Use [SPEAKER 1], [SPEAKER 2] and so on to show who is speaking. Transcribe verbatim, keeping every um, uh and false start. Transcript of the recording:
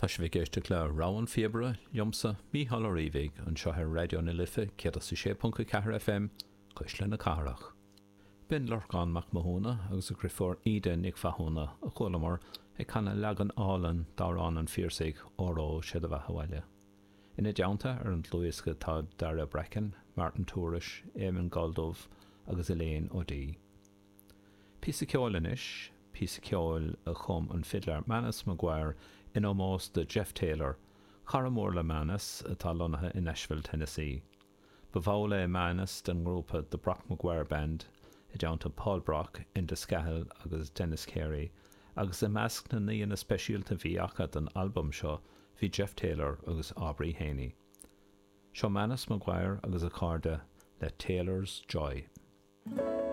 [SPEAKER 1] Tá sibh ag éisteacht le Rogha an Phíobaire liomsa Mícheál Ó Riabhaigh anseo ar Raidió na Life céad a sé ponc a ceathair FM Cuisle na Cathrach. B'in Lorcán Mac Mathúna agus a dheirfiúr Íde Nic Mhathúna a chualamar ag canadh leagan álainn d'amhrán an Phiarsaigh Óró Sé do Bheatha 'Bhaile. Ina dteannta ar an dlúthdhiosca tá Dara Brecken, Martin Tourish, Éamon Galldubh agus Elaine O'Dea. Píosa ceoil anois, píosa ceoil a chum an fidléir Manus McGuire in ómós do Jeff Taylor, cara mór le Manus atá lonnaithe in Nashville, Tennessee. Ba bhall é Manus den ngrúpa The Brock McGuire Band i dteannta Paul Brock, Enda Scahill agus Dennis Carey, agus i measc na n-aíonna speisialta a bhí acu don albam seo bhí Jeff Taylor agus Aubrey Haynie. Seo Manus McGuire agus a chairde le Taylor's Joy.